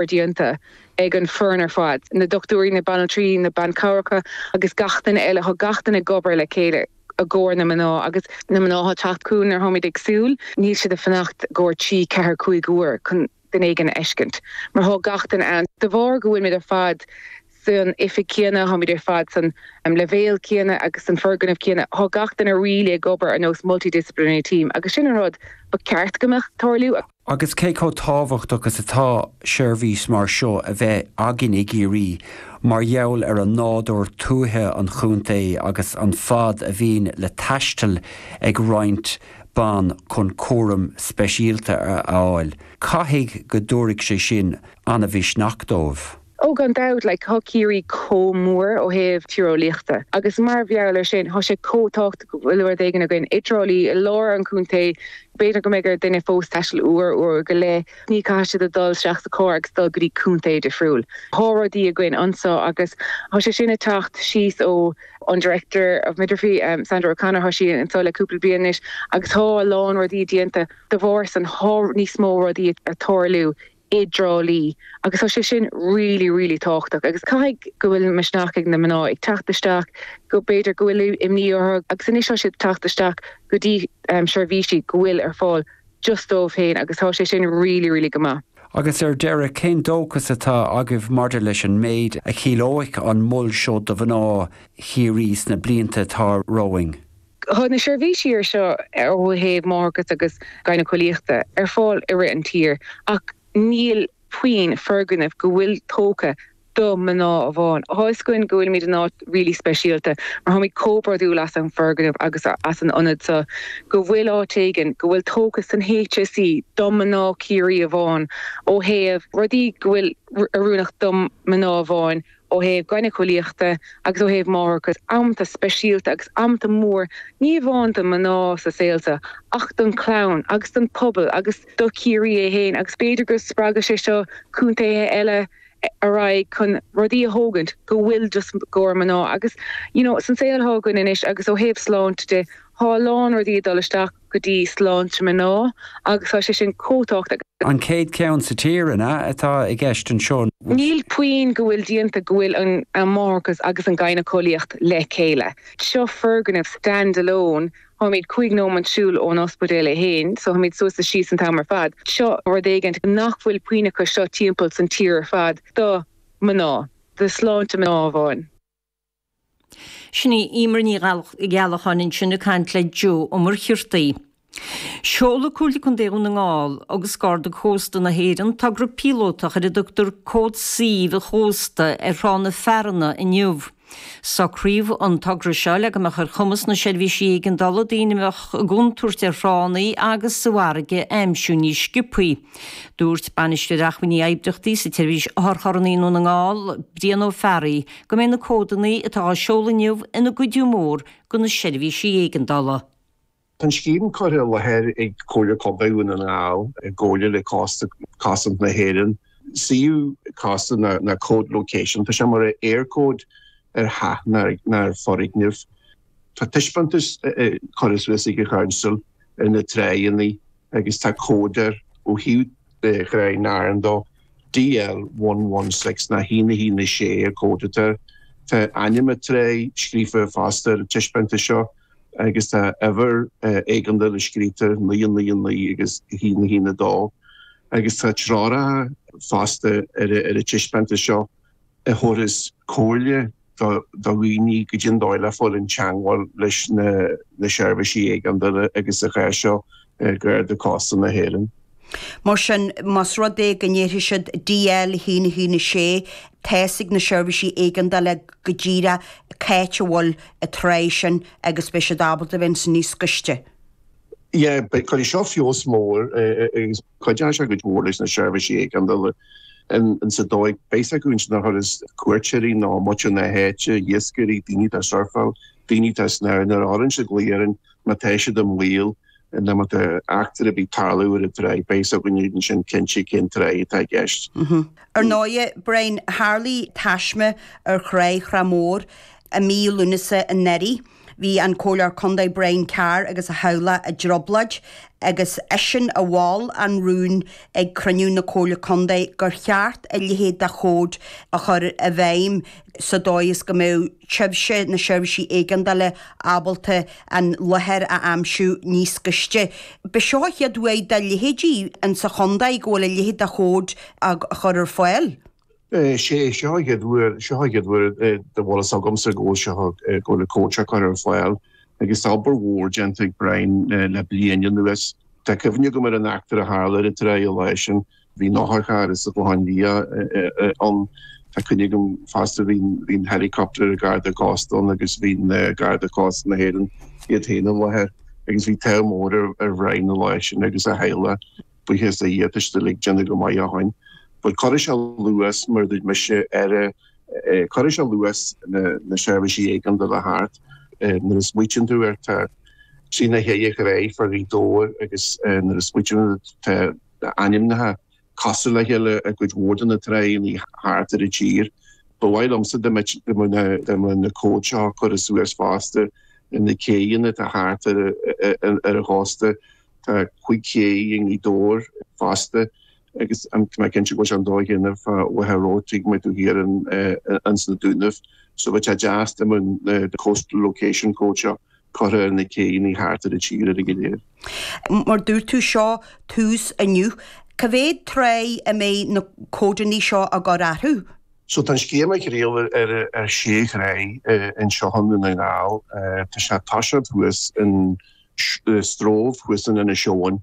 déanta ag an foireann ar fad, na dochtúirí, na banaltraí, na banchabhracha agus gach duine eile, tá gach duine ag obair le chéile i gcomhair na mná agus na mná atá ag teacht chugainn nuair tháimid ag súil, níl siad ag fanacht i gcomhair 3, 4, 5 uair chun duine éigin a fheiscint mar thá gach duine ann. De bharr go bhfuilimid ar fad san oifig céanna, tháimid ar fad san leibhéal céanna agus san foirgneamh céanna, thá gach duine really ag obair ar nós multidisciplinary team agus sin an rud ba ceart go mbeadh ag tarlú. Agus cé chomh tábhachtach is atá seirbhís mar seo a bheith againn i gCiarraí mar gheall ar an nádúr tuaithe an chontae agus an fad a bhíonn le taisteal ag roinnt ban chun cúram speisialta a fháil. Caithfidh go dtabharfaidh sé sin an-mhisneach dóibh. Ó gan dabht, like, thá Ciarraí chomh mór ó thaobh tíreolaíochta agus mar gheall ar sin, thá sé chomh tábhachtach go bhfuil rud éigin againn i dTrá Lí, i lár an chontae, b'fhéidir go mbeidh ar duine fós taisteal uair, uair go leith, ní caithfidh siad a dhul isteach sa charr agus dul go dtí contae difriúil. Thá rudaí againn anso agus thá sé sin ag teacht síos ó an Director of Midwifery, Sandra O'Connor, thá sí anso le cúpla bliain anois agus thá a lán rudaí déanta de bharr san, thá níos mó rudaí ag tarlú i dTrá Lí agus tá sé sin really really tábhachtach agus caithfidh go bhfuil misneach ag na mná ag teacht isteach go b'fhéidir go bhfuil imní orthu agus anois tá siad ag teacht isteach go dtí seirbhísí go bhfuil ar fáil just dóibh féin agus tá sé sin really really go maith. Agus ar deireadh, cén dóchas atá agaibh maidir leis an méid a chiallóidh an mol seo do mhná Chiarraí sna blianta atá romhainn? Tá na seirbhísí ar seo ó thaobh máithreachais agus gynaecoíochta ar fáil i rith an tír ach níl puinn foirgneamh go bhfuil tógtha do mná amháin. Tá fhios againn go bhfuilimid in áit really speisialta mar táimid chomh bródúil as an foirgneamh agus as an ionad seo go bhfuil áit éigin go bhfuil tógtha san HSE do mná Ciarraí amháin ó thaobh rudaí go bhfuil oiriúnach do mná amháin ó thaobh gynaecoíochta agus ó thaobh máithreachais, amanta speisialta agus amanta mór, ní amháin do mná sa saol seo ach don chlann agus don pobal agus do Chiarraí é fhéin agus b'fhéidir go spreagfaidh sé seo contaetha eile ar aghaidh chun rudaí a thógaint go bhfuil just i gcomhair mná agus you know san saol atá againn anois agus ó thaobh sláinte de, thá a lán rudaí ag dul isteach. go dtí sláinte mná agus tá sé sin chomh tábhachtach. An chéad cheann sa tír, an ea, atá i gceist anseo? Níl puinn go bhfuil déanta go bhfuil an máithreachas agus an gynaecoíocht le chéile. Seo foirgneamh stand alone, táimid 5 nóimint siúl ón ospidéal é fhéin, so táimid suas is síos an t-am ar fad. Seo rud éigint nach bhfuil puinn acu seo timpeall san tír ar fad do mná, do sláinte mná amháin. Sin í Emer Ní Ghealacháin ansin ag caint le Joe Ó Muircheartaigh. Seolfaidh Comhairle Contae Dhún na nGall agus Garda Cósta na hÉireann togra píolótach ar a dtugtar Cód Suímh an Chósta ar Thrá na Fearanna inniu. Socraíodh an togra seo le go mbeadh ar chumas na seirbhísí éigeandála daoine a bheadh i gcontúirt ar thránna agus sa bhfarraige a aimsiú níos sciobthaí. Dúirt Bainisteoir Acmhainní Oibríochtaí sa tSeirbhís Otharcharranna i nDún na nGall, Brian Ó Fearraigh, go mbeidh na códanna atá á seoladh inniu ina gcuidiú mór do na seirbhísí éigeandála. Tá an scéim curtha i láthair ag Comhairle Contae Dhún na nGall i gcomhairle le Cósta Cosaint na hÉireann. Suíomh cósta ná cód location, tá sé mar Eircode ar theach ná ar foirgneamh. Tá taispeántas curtha suas ag an Chouncil ar na tráigheanna agus tá cód air ó thaobh Thráigh na Fhearann dó. DL 116 ná 1 1 6 an cód atá air. Tá ainm an tráigh scríofa fosta ar an taispeántas seo agus tá uimhir éigeandála scríte, 9 9 9 agus 1 1 2 agus tá treoracha fosta ar an taispeántas seo a thabharfas comhairle do dhaoine goidé an dóigh le fáil i dteangmháil leis na seirbhísí éigeandála agus sa chás seo Garda Cósta na hÉireann. Mar sin, más rud é go ndéarfaidh siad DL 1 1 6, tá's ag na seirbhísí éigeandála go díreach c'áit a bhfuil an tráigh sin agus beidh siad ábalta a bheith ansin níos gaiste. Yeah, beidh, cuirfidh seo feabhas mór agus cuideoidh sé go mór leis na seirbhísí éigeandála in sa dóigh, beidh a fhios acu ansin a thabharfas cuairteoirí nó muintir na háite, iascairí, daoine atá ag surfáil, daoine atá ag snámh, nuair a chuireann siad glao orainn má tá siad i mbaol nó má tá eachtra ar bith ag tarlú ar an tráigh, beidh a fhios againn ansin cinnte cén tráigh atá i gceist. Ar ndóighe, Brian, tharlaigh taisme ar thráigh Thrá Mhór i mí Lúnasa anuraidh. Bhí an Comhairleoir Contae Brian Carr agus a theaghlach i dtrioblóid agus eisean a mhol an rún ag cruinniú na Comhairle Contae gur cheart a leithéid de chód a chur i bhfeidhm sa dóigh is go mbeadh sibhse, na seirbhísí éigeandála, ábalta an láthair a aimsiú níos gaiste. B'é seo an chéad uair dá leithéidí insa chontae go bhfuil a leithéid de chód á chur ar fáil. Sé seo an chéad uair, seo an chéad uair dá bhfuil fhios agamsa go bhfuil seo, go bhfuil an cód seo curtha ar fáil agus tá obair mhór déanta ag Brian le bliain anuas. Tá cuimhne agam ar an eachtra a tharla ar an tráigh an lá sin. Bhí an otharcharr as an Chlochán Liath ann. Tá cuimhne agam fosta bhí an helicopter ag Garda Cósta ann agus bhí Garda Cósta na hÉireann iad féin i láthair agus bhí t-ádh mór ar Bhrian an lá sin agus a theaghlach. Buíochas le Dia tá siad uilig déanamh go maith ó shoin. But cuirfidh sé luas mar a dúirt mise ar cuirfidh sé luas na seirbhísí éigeandála thart. Nuair a smaoitíonn tú air tá trí nó cheithre thráigh fá Ghaoth Dobhair agus nuair a smaoitíonn tú tá ainmneacha cosúil le chéile i gcuid mhór de na tráigheanna thart ar an tír. Ba mhaith liomsa dá mbeadh na cóid seo curtha suas fosta ar na céidheanna atá thart ar an chósta. Tá 5 ché i nGaoth Dobhair fosta agus tá mé cinnte go bhfuil sé an dóigh chéanna fá Mhachaire Rabhartaigh má tá tú thiar ins na Dúnaibh. So bheadh sé deas dá mbeadh na coastal location code seo curtha ar na céidheanna thart ar an tír uilig go léir. Mar dúirt tú, seo tús inniu. Cá mhéad tráigh a mbeidh na códanna seo á gcur orthu? So tá an scéim á thriail ar sé thráigh anseo i nDún na nGall. Tá sé ag toiseacht thuas in Stroove thuas in Inis Eoghain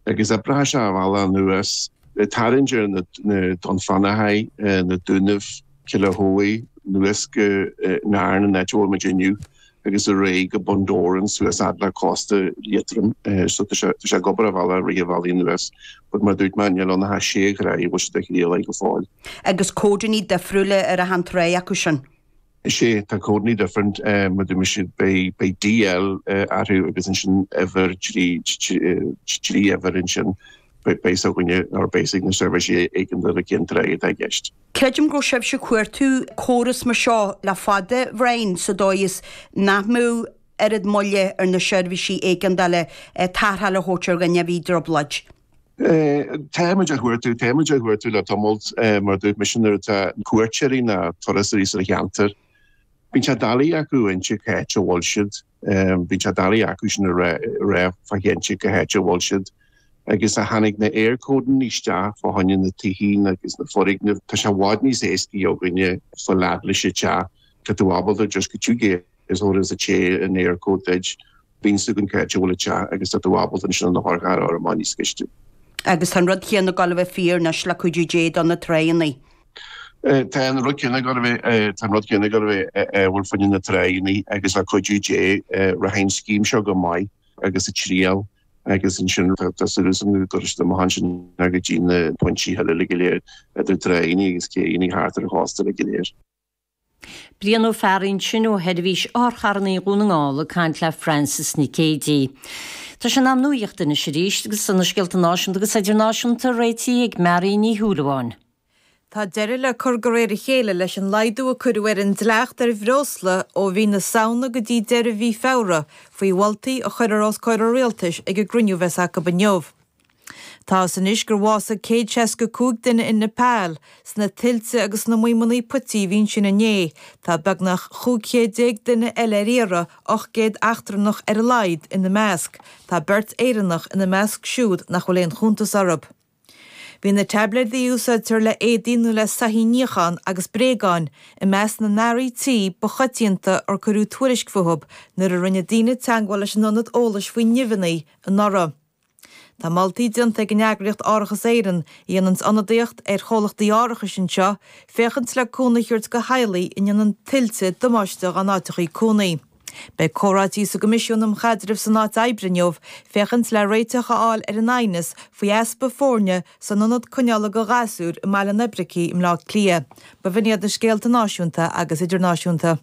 agus oibreoidh sé a bhealach anuas, ag tarraingt ar na Dún Fionnachaidh, na Dúnaibh, Cill Átha anuas go Nairn, an áit a bhfuil muid inniu, agus ar aghaidh go Bundoran suas fhad le cósta Liatroim. So tá sé tá sé ag obair a bhealach rith a bhealaigh anuas. But mar a dúirt mé, níl ann ach sé thráigh a bhfuil siad á thriail go fóill. Agus códanna difriúla ar achan tráigh acu sin. Is ea, tá códanna different, mar dúirt mise, beidh beidh DL orthu agus ansin uimhir, trí trí uimhir ansin, beidh fhios againne or beidh fhios ag na seirbhísí éigeandála cén tráigh atá i gceist. Creidim go raibh sibhse ag cuartú córas mar seo le fada, Bhrian, sa dóigh is nach mbeadh oiread moille ar na seirbhísí éigeandála tarrtháil a thabhairt ar dhuine a bhí i dtrioblóid. Táimid á chuartú, táimid á chuartú le tamalt, mar a dúirt mise, nuair atá cuairteoirí ná turasóirí sa cheantar, bíonn sé doiligh acu inse cá háit a bhfuil siad, bíonn sé doiligh acu sin a rá fá chinnte cá háit a bhfuil siad. Agus ó tháinig na Eircodanna isteach fá choinne na tithe agus na foirgnimh, tá sé i bhfad níos éascaí againne fáil fhad leis an teach, tá tú ábalta just go dtí is ó is a té an Eircode duit. Bíonn fhios againn cá háit a bhfuil an teach agus tá tú ábalta ansin an t-otharcharr a chur amach níos gaiste. Agus tá an rud chéanna ag dul a bheith fíor anois le cuidiú Dé do na tráigheanna. Tá an rud céanna ag dul a bheith, tá an rud céanna ag dul a bheith, bhuel fá choinne na tráigheanna agus le cuidiú Dé rachaidh an scéim seo go maith agus ag triail agus ansin tá súil agam go gcuirfidh siad amach ansin go dtí na pointí eile go léir idir tráigheanna agus céidheanna thart ar an chósta go léir. Brian Ó Fearraigh ansin ó Sheirbhís Otharcharranna Dhún na nGall ag caint le Frances Nic Géadaigh. Tá sé in am nuaíochta anois arís agus tá na scéalta náisiúnta agus idirnáisiúnta réitithe ag Mary Ní Shúilleabháin. Tá deireadh le cur de réir a chéile leis an laghdú a cuireadh ar an dleacht ar bhreosla ó mhí na Samhna go dtí deireadh mhí Feabhra, faoi mholtaí a chuirfear os comhair an Rialtais ag an gcruinniú a bheas acu inniu. Tá fhios anois gur bhásaigh 165 duine in Nepal sna tuilte agus sna maidhmeanna puití a bhí ansin inné. Tá beagnach 15 chéad duine eile ar iarraidh, 800 eachtrannach ar a laghad, ina measc. Tá beirt Éireannach ina measc siúd nach bhfuil aon chuntas orthu. Bhí na taibléidí a úsáidtear le éadaí nó le soithí a níochán agus bréagáin i measc na n-earraí tí ba choitianta ar cuireadh tuairisc fúthu nuair a rinne daoine teagmháil leis an Ionad Eolais faoi Nimheanna anuraidh. Tá moltaí déanta ag an eagraíocht Árachas Éireann, a dhéananns ionadaíocht ar chomhlachtaí árachais anseo, féachaint le cúnamh a thabhairt do theaghlaigh a ndéanann tuilte damáiste dá n-áiteachaí cónaí. Beidh comhráití sa gCoimisiún um Chaidreamh san Áit Oibre inniu féachaint le réiteach a fháil ar an aighneas faoi easpa foirne san ionad coinneála do ghasúir i mBaile an Oibricigh i mBleá Cliath. B'in iad na scéalta náisiúnta agus idirnáisiúnta.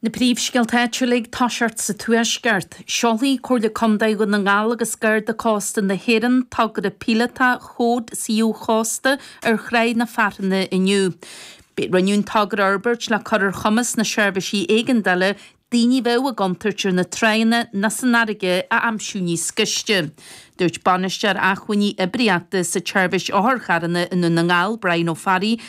Na príomhscéalta áitiúla ag toiseacht sa Tuaisceart. Seolfaidh Comhairle Contae Dhún na nGall agus Garda Cósta na hÉireann togra píolótach Chód Suíomh Chósta ar Thráigh na Fearthanna inniu. Rinneadh an togra a fhorbairt le cur ar chumas na seirbhísí éigeandála. daoine a bheadh i gcontúirt ar na tránna nó san fharraige a aimsiú níos gaiste. Dúirt Bainisteoir Acmhainní Oibríochta sa tSeirbhís Otharcharranna i nDún na nGall, Brian Ó Fearraigh.